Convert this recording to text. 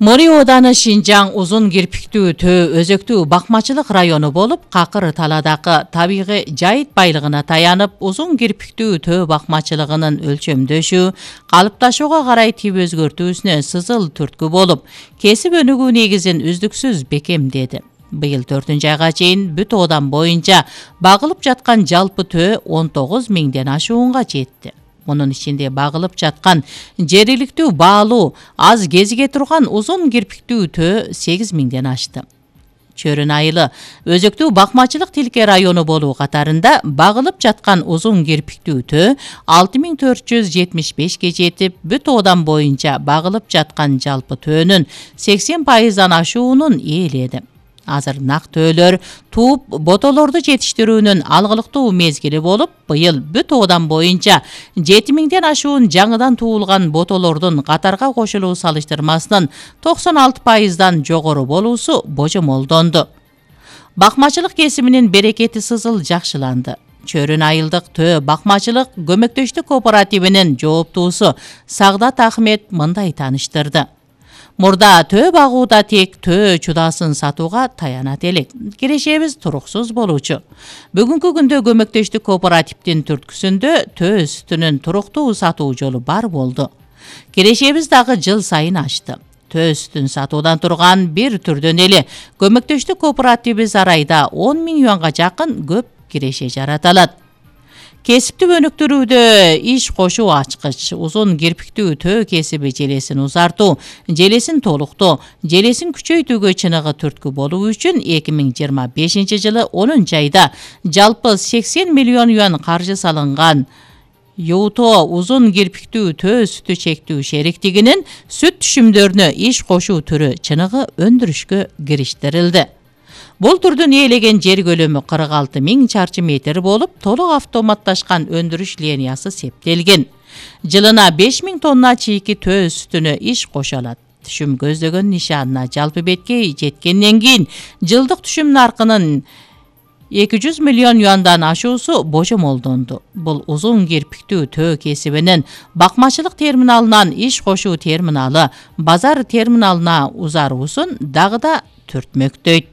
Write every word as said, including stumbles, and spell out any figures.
Мори ооданы Шинжаң узун кирпиктүү төө өзөктүү бакмачылык району болуп, Какыр таладагы табигый жайыт байлыгына таянып, узун кирпиктүү төө бакмачылыгынын өлчөмдөшү, калыпташууга карай тип өзгөртүүсүнө сызыл түрткү болуп, кесип өнүгүү негизин үздүксүз бекемдеди. Быйыл төртүнчү айга чейин бүт оодан боюнча багылып жаткан жалпы төө он тогуз миңден ашуунга жетти. Мунун ичинде багылып жаткан жергиликтүү баалуу аз кезиге турган узун кирпиктүү төө сегиз миңден ашты. Чөрүн айылы өзөктүү бакмачылык тилке району болуу катарында багылып жаткан узун кирпиктүү төө алты миң төрт жүз жетимиш бешке жетип, бүт оодан боюнча багылып жаткан жалпы төөнүн сексен пайыздан ашуунун ээледи. Азыр нак төөлөр тууп ботолорду жетиштирүүнүн алгылыктуу мезгили болуп, быйыл бүт оодан боюнча жети миңден ашуун жаңыдан туулган ботолордун катарга кошулуу салыштырмасынын токсон алты пайыздан жогору болуусу божомолдонду. Бакмачылык кесибинин берекети сызыл жакшыланды. Чөрүн айылдык төө бакмачылык көмөктөштүк кооперативинин жооптуусу Сагдат Ахмет мындай тааныштырды. Мурда төө багууда тек төө чудасын сатууга таянат элек. Кирешебиз туруксуз болуучу. Бүгүнкү күндө көмөктөштүк кооперативдин түрткүсүндө төө сүтүнүн туруктуу сатуу жолу бар болду. Кирешебиз дагы жыл сайын ашты. Төө сүтүн сатуудан турган бир түрдөн эле көмөктөштүк кооперативибиз арайда он миң юанга жакын көп киреше жарата алат. Кесипти өнүктүрүүдө иш кошуу ачкыч, узун кирпиктүү төө кесиби желесин узартуу, желесин толуктоо, желесин күчөйтүүгө чыныгы түрткү болуу үчүн эки миң жыйырма бешинчи жылы онунчу айда жалпы сексен миллион юан каржы салынган Юто узун кирпиктүү төө сүтү чектүү шериктигинин сүт түшүмдөрүнө иш кошуу түрү чыныгы өндүрүшкө кириштирилди. Бул түрдүн ээлеген жер көлөмү кырк алты миң чарчы метр болуп, толук автоматташкан өндүрүш линиясы септелген. Жылына беш миң тонна чийки төө сүтүнө иш кошо алат. Түшүм көздөгөн нишанына жалпы бетке жеткенден кийин жылдык түшүм наркынын эки жүз миллион юандан ашуусу божомолдонду. Бул узун кирпиктүү төө кесибинин бакмачылык терминалынан иш кошуу терминалы базар терминалына узаруусун дагы да түртмөктөйт.